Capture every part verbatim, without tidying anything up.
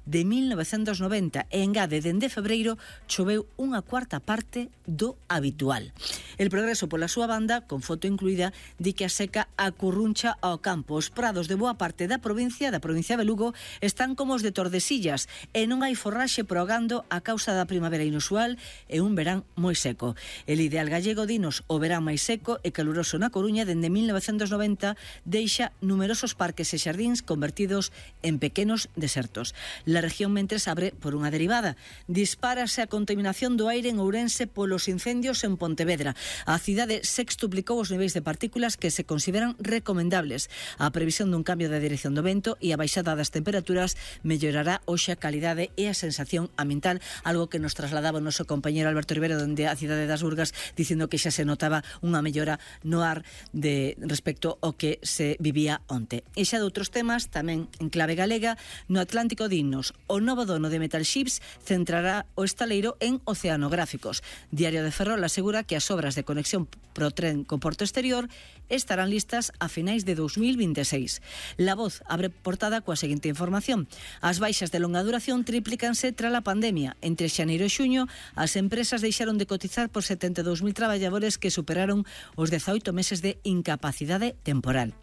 de mil novecentos noventa e engade dende febreiro choveu unha cuarta parte do habitual. El Progreso, pola súa banda, con foto incluída, di que a seca acurruncha ao campo. Os prados de boa parte da provincia, da provincia de Lugo, están como os de Tordesillas e non hai forraxe progando a causa da primavera inusual e un verán moi seco. El ideal gallego, dinos, o verán máis seco e caluroso na Coruña dende mil novecentos noventa deixa numerosos parques e xardíns convertidos en pequenos desertos. La región mentres abre por unha derivada. Dispárase a contaminación do aire en Ourense polos incendios en Pontevedra. A cidade sextuplicou os niveis de partículas que se consideran recomendables. A previsión dun cambio da dirección do vento e a baixada das temperaturas mellorará hoxe a calidade e a sensación ambiental, algo que nos trasladaba o noso compañero Alberto Rivero dende a cidade das Burgas, dicindo que xa se notaba unha mellora no ar de respecto ao que se vivía onte. E xa de outros temas, tamén en clave galega, no Atlántico Dinos, o novo dono de Metal Ships centrará o estaleiro en oceanográficos. Diario de Ferrol asegura que as obras de conexión pro tren co porto exterior estarán listas a finais de dos mil vinte e seis. La Voz abre portada coa seguinte información. As baixas de longa duración triplícanse tras a pandemia. Entre xaneiro e xuño, as empresas deixaron de cotizar por setenta e dous mil traballadores que superaron os dezaoito meses de incapacidade temporal.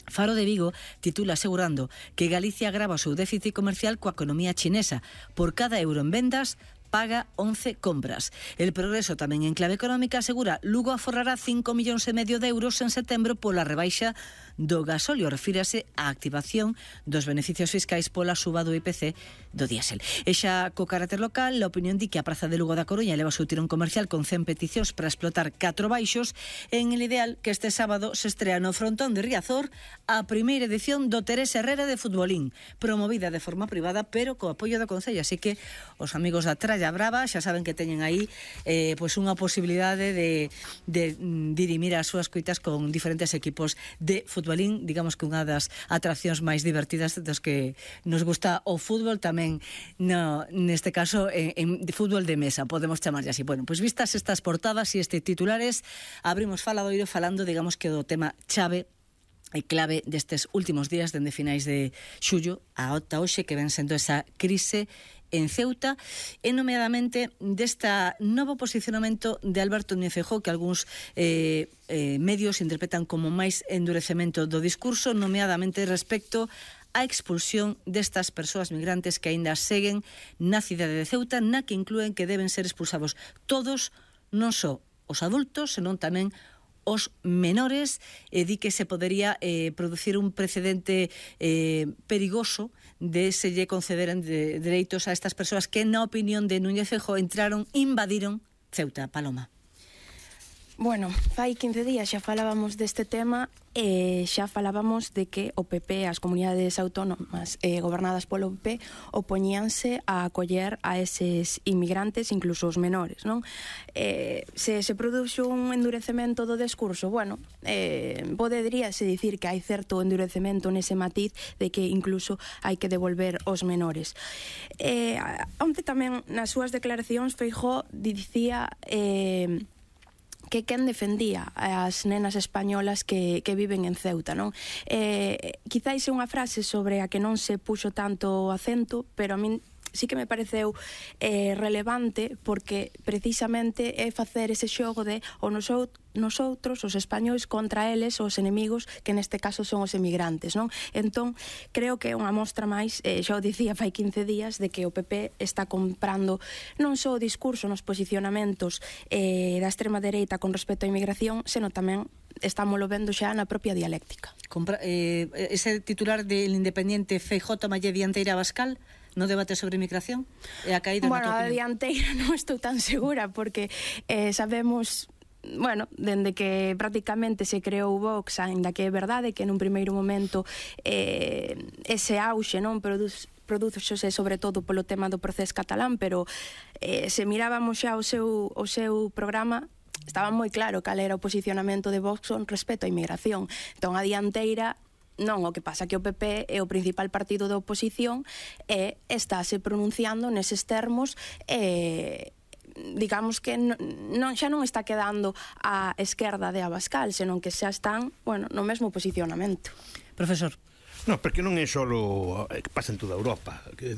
Faro de Vigo titula asegurando que Galicia agrava o seu déficit comercial coa economía chinesa. Por cada euro en vendas, paga once compras. El Progreso, tamén en clave económica, asegura Lugo aforrará cinco millóns e medio de euros en setembro pola rebaixa do gasóleo. Refírase á activación dos beneficios fiscais pola suba do I P C do diésel. E xa co carácter local, a opinión di que a Praza de Lugo da Coruña leva o seu tirón comercial con cen peticións para explotar catro baixos. En el ideal que este sábado se estrea no frontón de Riazor a primeira edición do Teresa Herrera de Futbolín, promovida de forma privada pero co apoio do Concello, así que os amigos da Tralla Brava xa saben que teñen aí eh, pois unha posibilidade de, de dirimir as súas coitas con diferentes equipos de futbolín, digamos que unha das atraccións máis divertidas dos que nos gusta o fútbol, tamén no, neste caso en, en de fútbol de mesa, podemos chamarlle así. Bueno, pois vistas estas portadas e estes titulares, abrimos faladoiro falando, digamos que do tema chave e clave destes últimos días dende finais de xullo a ata hoxe, que ven sendo esa crise en Ceuta, e nomeadamente desta novo posicionamento de Alberto Núñez Feijóo, que algúns eh, eh, medios interpretan como máis endurecemento do discurso, nomeadamente respecto a expulsión destas persoas migrantes que aínda seguen na cidade de Ceuta, na que inclúen que deben ser expulsados todos, non só os adultos, senón tamén os menores, e di que se podería eh, producir un precedente eh, perigoso de se lle concederan de, dereitos a estas persoas que, na opinión de Núñez Feijóo, entraron, invadiron Ceuta. Paloma. Bueno, fai quince días xa falábamos deste tema e xa falábamos de que o P P, as comunidades autónomas eh, gobernadas polo P P, opoñíanse a acoller a eses inmigrantes, incluso os menores, non? Eh, se se produxo un endurecemento do discurso, bueno, eh, poderíase dicir que hai certo endurecemento nese matiz de que incluso hai que devolver os menores. Eh, onte tamén nas súas declaracións Feijóo dicía eh, que quen defendía as nenas españolas que, que viven en Ceuta, non? Eh, quizáis é unha frase sobre a que non se puxo tanto acento, pero a min sí que me pareceu eh, relevante, porque precisamente é facer ese xogo de o nosou, nosotros, os españois, contra eles, os enemigos, que neste caso son os emigrantes, non? Entón, creo que é unha mostra máis, eh, xa o dicía fai quince días, de que o P P está comprando non só o discurso nos posicionamentos eh, da extrema dereita con respecto á inmigración, senón tamén estámoslo vendo xa na propia dialéctica. Compra, eh, ese titular del Independiente, Feijóo tomalle dianteira a Abascal no debate sobre inmigración? E a caída, bueno, a dianteira non estou tan segura, porque eh, sabemos... Bueno, dende que prácticamente se creou Vox, ainda que é verdade que nun primeiro momento eh, ese auxe non produce produzose sobre todo polo tema do procés catalán, pero eh, se mirábamos xa o seu, o seu programa, estaba moi claro cal era o posicionamento de Vox con respecto á inmigración. Entón, a dianteira non, o que pasa que o P P é o principal partido da oposición e estáse pronunciando neses termos e... Eh, digamos que non, non, xa non está quedando a esquerda de Abascal, senón que xa están, bueno, no mesmo posicionamento. Profesor. Non, porque non é só que pasa en toda Europa, que